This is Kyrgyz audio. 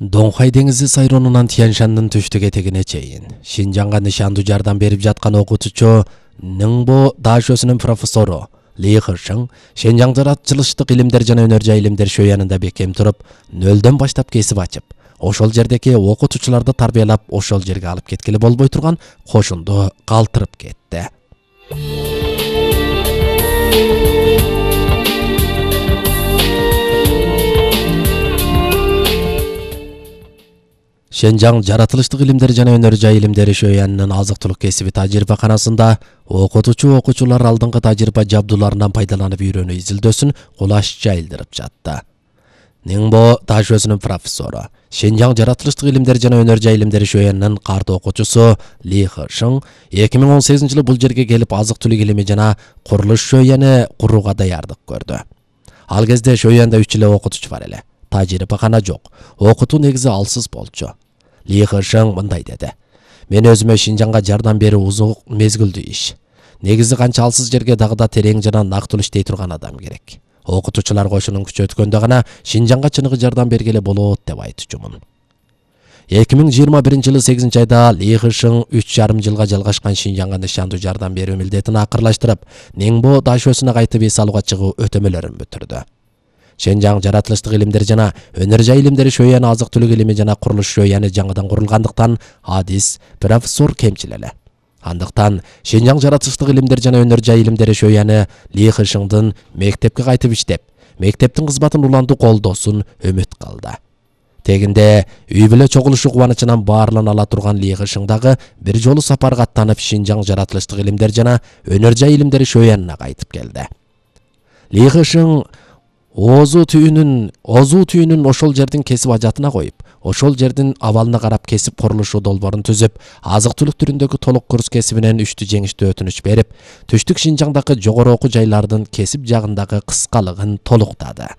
Доңхай деңизи сайронунан Тяньшандын түштүк этегине чейин Шинжаңга нышандуу жардам берип жаткан окутуучу Ныңбо Дашөсүнүн профессору Ли Хышың Шинжаң жаратылыштык илимдер жана өнөр жай илимдер шөянында бекем туруп, нөлдөн баштап кесип ачып, ошол жердеги окутуучуларды тарбиялап, ошол жерге алып кеткели болбой турган кошунду калтырып кетти. Шинжаң жаратылыштык илимдер жана өнөр жай илимдери шөянынын азык-түлүк кесиби тажрыйбаканасында окутуучулар алдыңкы тажрыйба жабдууларынан пайдаланып үйрөнүү изилдөөсүн кулаш жайылдырып жатты. Ныңбо Дашөсүнүн профессору, Шинжаң жаратылыштык илимдер жана өнөр жай илимдери шөянынын карт окуучусу Ли Хышың 2018-жылы бул жерге келип азык-түлүк илими жана курулуш шөяны курууга даярдык көрдү. Ал кезде шөяндо 3 эле окутуучу бар эле. Тажрыйбакана жок. Окутуу негизи алсыз болчу. Ли Хышың мындай деди: "Мен өзүмө Шинжаңга жардам берүү узун мезгилдүү иш. Негизи канча алсыз жерге дагы да терең жана нактуу иштей турган адам керек. Окутуучулар кошунун күчү өткөндө гана Шинжаңга чыныгы жардам бергеле болот" деп айтчумун. 2021-жылы 8-айда Ли Хышың 3,5 жылга жалгашкан Шинжаңга нышандуу жардам берүү милдетин акырлаштырып, Ныңбо Дашөсүнө кайтып эс алууга чыгуу өтөмөлөрүн бүтүрдү. Шинжаң жаратылыштык илимдер жана өнөр жай илимдери шөяны азык-түлүк илими жана курулуш шөяны жаңыдан курулгандыктан адис профессор кемчил эле. Андыктан Шинжаң жаратылыштык илимдер жана өнөр жай илимдери шөяны Ли Хышыңдын мектепке кайтып иштеп, мектептин кызматын улантуу колдоосун үмүт кылды. Тегинде үй бүлө чогулушу кубанычынан баарлана ала турган Ли Хышың дагы бир жолу сапарга аттанып Шинжаң жаратылыштык илимдер жана өнөр жай илимдери шөянына кайтып келди. Ли Хышың озуу түйүнүн ошол жердин кесип ажатына коюп, ошол жердин абалына карап кесип курулушу долбоорун түзүп, азык-түлүк түрүндөгү толук курс кесибинен үчтү жеңиштүү өтүнүч берип, түштүк Шинжаңдагы жогору окуу жайлардын кесип жагындагы кыскалыгын толуктады.